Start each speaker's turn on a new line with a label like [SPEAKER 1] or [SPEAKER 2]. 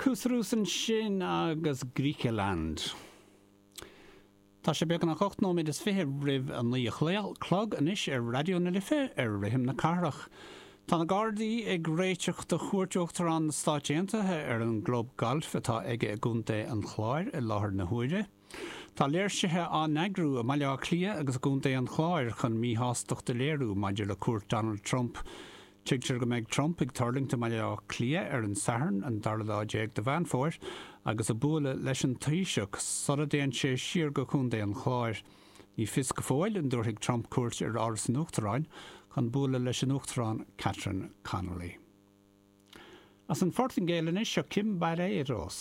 [SPEAKER 1] Kúsarús ansin agus Griechenland. Tá sé beagnach 8 nóiméad is 20 roimh a 9 a chlog anois ar Raidió na Life ar Rithim na Cathrach. Tá na Gardaí ag réiteach do chuairt Uachtarán na Stáit Aontaithe ar an gclub gailf atá aige i gContae an Chláir i láthair na huaire. Tá léirsithe á n-eagrú i mBaile Átha Cliath agus i gContae an Chláir chun míshástacht a léiriú maidir le cuairt Donald Trump. Tuigtear go mbeidh Trump ag tuirlingt i mBaile Átha Cliath ar an Satharn, an dara lá déag de Mheán Fómhair, agus ag bualadh leis an Taoiseach sula dtéann sé siar go Contae an Chláir. Ní fios go fóill an dtabharfaidh Trump cuairt ar Áras an Uachtaráin chun bualadh leis an Uachtarán Catherine Connolly. As an Phortaingéil anois, seo Cimbaleiros.